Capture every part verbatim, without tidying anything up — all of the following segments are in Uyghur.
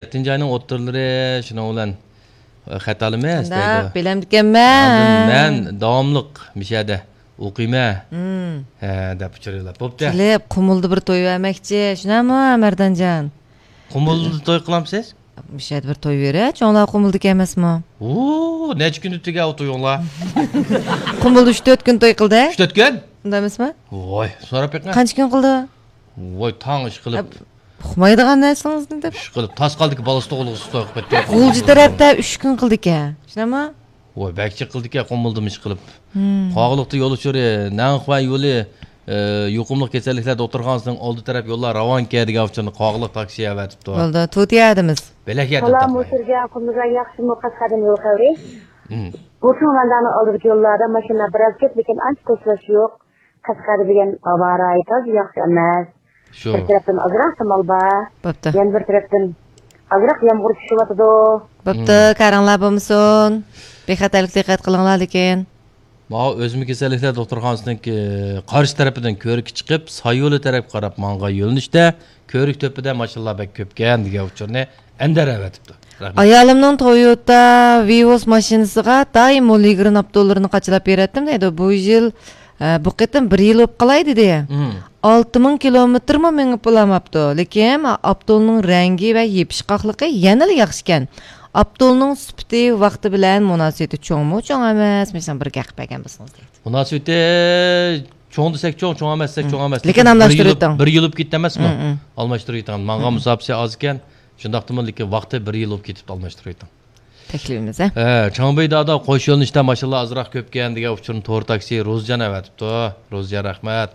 يەتتىنچى ئاينىڭ ئوتتۇرىلىرى شۇنىڭ بىلەن، ئە، خەت ئالىمىز دەيدۇ. شۇنداق، بىلەمدىكەنمەن. ئاندىن مەن داۋاملىق مۇشۇ يەردە ئوقۇيمەن. ھە، دەپ ئۇچۇر يوللاپ. بوپتۇ. كېلىپ، قۇمۇلدا بىر توي بەرمەكچى. شۇنداقمۇ، مەردانجان؟ قۇمۇلدا توي قىلامسىز؟ مۇشۇ يەردە بىر توي بېرە، چوڭلار قۇمۇلدىكى ئەمەسمۇ؟ ۋۇ، نەچچە كۈندە تۈگە ئۇ تويۇڭلار؟ قۇمۇلدا ئۈچ تۆت كۈن توي قىلدى. ئۈچ تۆت كۈن؟ ئۇنداق ئەمەسمۇ؟ ۋاي، سوراپ بېقىڭ. قانچە كۈن قىلدى؟ ۋاي، تاڭ ئىش قىلىپ. ئە، ئۇقمايدىغان نەرسىڭىزنى دەپ. ئىش قىلىپ، تاس قالدىكى بالىسى تۇغۇلغۇسى توي قىلىپ كەتتى. غۇلجا تەرەپتە ئۈچ كۈن قىلدىكەن. شۇنداقمۇ؟ ۋاي، بەك جىق قىلدىكەن، قۇمۇلدىمۇ ئىش قىلىپ. قاغىلىقتا يول ئۇچۇرى، نەنخۇەن يولى، ئە، يۇقۇملۇق كېسەللىكلەر دوختۇرخانىسىنىڭ ئالدى تەرەپ يوللار راۋانكەن دېگەن ئۇچۇرنى قاغىلىق تاكسى ئەۋەتىپتۇ. بولدى، تۇتۇياردىمىز. بەلەك يەردىن سالام، تاپماي. مۇسۇرجان قۇمۇلغا ياخشىمۇ قەشقەردىن يول خەۋىرى؟ ھىم. بۇ چوڭ ۋەندانىڭ ئالدىدىكى يوللاردا ماشىنىلار بىراز كۆپ، لېكىن ئانچە توسۇلۇش يوق. قەشقەردە دېگەن ھاۋا رايى تازا ياخشى ئەمەس. شۇ. بىر تەرەپتىن ئازراق شامال بار. بوپتۇ. يەنە بىر تەرەپتىن ئازراق يامغۇر چۈشۈۋاتىدۇ. بوپتۇ، مم. كارىڭلار بولمىسۇن. بىخەتەرلىككە دىققەت قىلىڭلار لېكىن. ماۋۇ ئۆزمە كېسەللىكلەر دوختۇرخانىسىنىڭكى قارشى تەرىپىدىن كۆۋرۈككە چىقىپ، سايولى تەرەپكە قاراپ ماڭغان يۆنىلىشتە كۆۋرۈك تۆپىدە ماشىنىلار بەك كۆپكەن دېگەن ئۇچۇرنى ئەندەر ئەۋەتىپتۇ. رەھمەت. ئايالىمنىڭ تويوتا ۋىۋوس ماشىنىسىغا دائىم مولىگرىن ئاپتوللىرىنى قاچىلاپ بېرەتتىم دەيدۇ. بۇ يىل، ئە، بۇ قېتىم بىر يىل بولۇپ قالاي دېدى. مم. ئالتە مىڭ كىلومېتىرمۇ مېڭىپ بولالماپتۇ. لېكىن ئاپتولنىڭ رەڭگى ۋە يېپىشقاقلىقى يەنىلا ياخشىكەن. ئاپتولنىڭ سۈپىتى ۋاقتى بىلەن مۇناسىۋىتى چوڭمۇ، چوڭ ئەمەس؟ مۇشۇنىڭ بىر گەپ بەرگەن بولسىڭىز دەيدۇ. مۇناسىۋىتى چوڭ دېسەك چوڭ، چوڭ ئەمەس دېسەك مم. چوڭ ئەمەس. لېكىن بىر يىل، ئالماشتۇرۇۋېتىڭ. بىر يىل بولۇپ كېتىپتۇ ئەمەسمۇ؟ مم، مم. ئالماشتۇرۇۋېتىڭ. مانغان مم. مۇساپىسى ئاز ئىكەن. شۇنداقتىمۇ، لېكىن ۋاقتى بىر يىل بولۇپ كېتىپتۇ، ئالماشتۇرۇۋېتىڭ. تەكلىپىمىز، ھە؟ ھە، چاڭبىي دادا قوش يۆنىلىشتە ماشىنىلار ئازراق كۆپكەن دېگەن ئۇچۇرنى تور تاكسى روزىجان ئەۋەتىپتۇ. روزىجان، رەھمەت.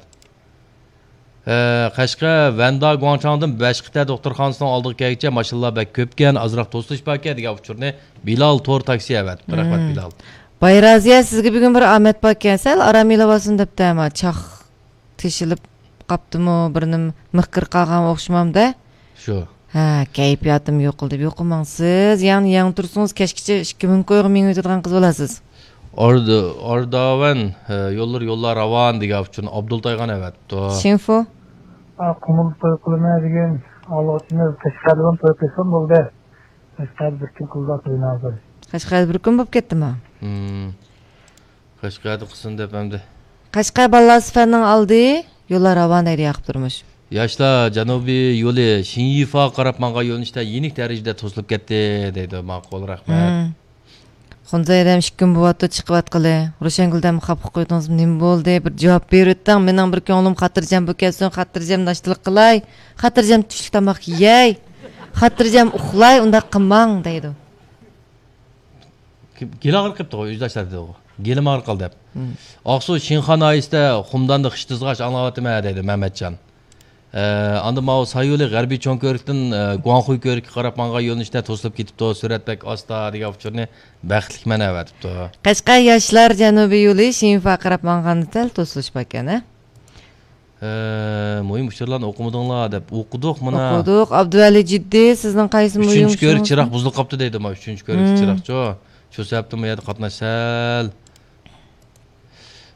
ھە، قەشقەر ۋەندا گۇاڭچاڭدىن بەشقىتە دوختۇرخانىسىنىڭ ئالدىغا كەلگۈچە ماشىنىلار بەك كۆپكەن، ئازراق توسۇلۇش باركەن دېگەن ئۇچۇرنى بىلال تور تاكسى ئەۋەتىپتۇ. رەھمەت، مم. بىلال. بايرازىيە، سىزگە بۈگۈن بىر ئامەت باركەن، سەل ئارام ئېلىۋالسۇن دەپتۇ، ئەمما چاق تېشىلىپ قاپتىمۇ، بىرنېمە مىخ كىرىپ قالغان ئوخشىمامدۇ؟ شۇ. ھە، كەيپىياتىم يوقىلىدۇ. يوقىماڭ سىز، يەنە، يەنە تۇرسىڭىز، كەچكىچە ئىككى مىڭ كويغا مېڭىۋېتىدىغان قىز بولارسىز. ئاردا-، ئارداۋەن، ھە، يوللىرى يوللار راۋان دېگەن ئۇچۇرنى ئابدۇل تايغان ئەۋەتىپتۇ. شىنفۇ. ئا، قۇمۇل توي قىلىمەن دېگەن، ئالغۇچىنى قەشقەردىن توي قىلسام بولدى. قەشقەردە بىر كۈن قىلدى توينى ھازىر. قەشقەردە بىر كۈن بولۇپ كەتتىما؟ ھىم. قەشقەردە قىلسۇن دەپ ئەمدى. قەشقەر بالىلار سىفەننىڭ ئالدى، يوللار راۋان دەيدۇ ياقۇپ تۇرمۇش. ياشلار جەنۇبىي يولى شىنيىفاغا قاراپ ماڭغان يۆنىلىشتە يېنىك دەرىجىدە توسۇلۇپ كەتتى دەيدۇ. ماقۇل، رەھمەت. ھىم. خۇنزەي ھەدەم ئىككى كۈن بولۇۋاتىدۇ، چىقىۋاتقىلى. روشەنگۈل ھەدەم خاپا قويدىڭىزمۇ؟ نېمە بولدى؟ بىر جاۋاب بېرىۋېتىڭ. مېنىڭ بىر كۆڭلۈم خاتىرجەم بولۇپ كەتسۇن، خاتىرجەم ناشتىلىق قىلاي، خاتىرجەم چۈشلۈك تاماق يېيەي، خاتىرجەم ئۇخلاي، ئۇنداق قىلماڭ دەيدۇ. گېلى ئاغرىپ قېپتىغۇ، ئۆزداشلار دېدىغۇ. گېلىم ئاغرىپ قالدى دەپ. مم. ئاقسۇ شىنخان ناھىيەسىدە خۇمداندا خىش تىزغاچ ئاڭلاۋاتىمەن دەيدۇ مەمەتجان. ئە، ئاندىن ماۋۇ سايولى غەربىي چوڭ كۆۋرۈكتىن، ئە، گۇاڭخۇي كۆۋرۈككە قاراپ ماڭغان يۆنىلىشتە توسۇلۇپ كېتىپتۇ، سۈرئەت بەك ئاستا دېگەن ئۇچۇرنى بەختلىك مەن ئەۋەتىپتۇ. قەشقەر ياشلار جەنۇبىي يولى شىنفا قاراپ ماڭغاندا سەل توسۇلۇش باركەن، ھە؟ ئە، مۇھىم ئۇچۇرلارنى ئوقۇمىدىڭلار دەپ. ئوقۇدۇق مانا. ئوقۇدۇق. ئابدۇۋەلى جىددىي، سىزنىڭ قايسى مۇھىم ئۈچىنچى كۆۋرۈك چىراغ بۇزۇلۇپ قاپتۇ دەيدۇ، مانا ئۈچىنچى كۆۋرۈك مم. چىراغچۇ. شۇ سەۋەبتىن بۇ يەردە قاتناش سەل.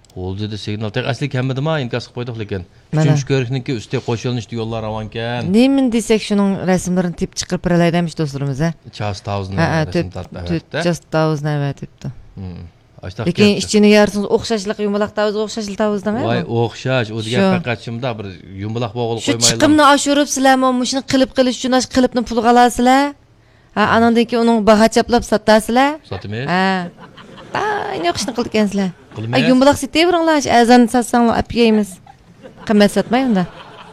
ھولدىدە سىگنال تېخى ئەسلىگە كەلمىدىما، ئىنكاس قىلىپ قويدۇق لېكىن. مانا. ئۈچىنچى كۆۋرۈكنىڭكى ئۈستى قوش يۆنىلىشتە يوللار راۋانكەن. نېمىنى دېسەك شۇنىڭ رەسىملىرىنى تېپىپ چىقىرىپ بېرەلەيدىمىش دوستلىرىمىز، ھە؟ چاس تاۋزىنى ھە، ھە، رەسىم تۆت، تارتىپ تۆت ئەۋەتتى. چاس تاۋزىنى ئەۋەتىپتۇ. مم. ئاشتاق لېكىن كەتتى. ئىچىنى يارسىڭىز ئوخشاشلىق يۇمىلاق تاۋزى ئوخشاشلا تاۋزىدىڭ ھە؟ ۋاي، ئوخشاش. ئۇ دېگەن شۇ. پەقەت شۇنداق بىر يۇمىلاق بولغىلى شۇ قويمايلا. چىقىمنى ئاشۇرۇپ سىلەرمۇ مۇشۇنى قىلىپ قىلىش ئۈچۈن ئاشۇ قىلىپنى پۇلغا ئالاسىلەر. ھە، ئانىڭدىن كېيىن ئۇنىڭغا باھا چاپلاپ ساتاسىلەر. ساتىمىز. ھە. ئاينى ئوخشىشنى قىلىدىكەنسىلەر. قىلىمىز. ئاي، يۇمبىلاق سېتىۋېرىڭلار، ئەرزان ساتساڭلار ئاپ يەيمىز. قىممەت ساتماي ئۇندا.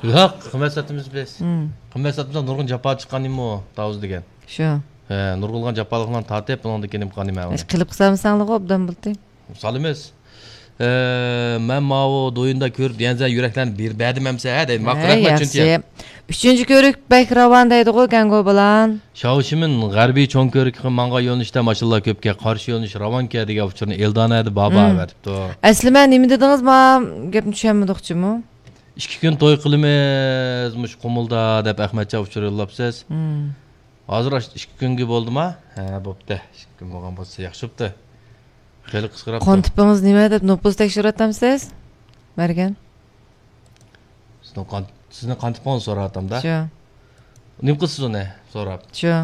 ياق، قىممەت ساتىمىز بىز. مم. قىممەت ساتمىساق نۇرغۇن جاپا چىققان نېمە ئۇ تاۋزى دېگەن. شۇ. ھە، نۇرغۇنلىغان جاپالىقلارنى تارتىپ، بۇنىڭدىن كېيىن نېمە قىلغان نېمە ئۇنى. قىلىپ قىلسامساڭلىغۇ ئوبدان بولدى. سالىمىز. ئە، مەن ماۋۇ دويۇندا كۆرۈپ دېگەنسەن يۈرەكلەرنى بېرىپ بەردىم ئەمسە، ھە، دەيدۇ. ماقۇل ھە، رەھمەت ياخشى. چۈنكى. ئۈچىنچى كۆۋرۈك بەك راۋان دەيدىغۇ، گەڭگو بىلەن. شاۋشىمىن غەربىي چوڭ كۆۋرۈككە ماڭغان يۆنىلىشتە ماشىنىلار كۆپكەن، قارشى يۆنىلىش راۋانكەن دېگەن ئۇچۇرنى ئېلدانە ھەدە بابا مم. ئەۋەتىپتۇ. ئەسلى مەن نېمە دېدىڭىز؟ ما گەپنى چۈشەنمىدۇقچىمۇ؟ ئىككى كۈن توي قىلىمىز مۇشۇ قۇمۇلدا دەپ ئەخمەتجان ئۇچۇر يوللاپسىز. مم. ھازىر ئاشۇ ئىككى كۈنگە بولدىما؟ ھە، بوپتۇ. ئىككى كۈن بولغان بولسا ياخشى بوپتۇ. خېلى قىسقىراپتۇ. قان تىپىڭىز نېمە دەپ نوپۇس تەكشۈرۈۋاتامسىز؟ مەرگەن. سىزنىڭ قان، سىزنىڭ قان تىپىڭىزنى سوراۋاتامدا. شۇ. نېمە قىلىسىز ئۇنى سوراپ؟ شۇ.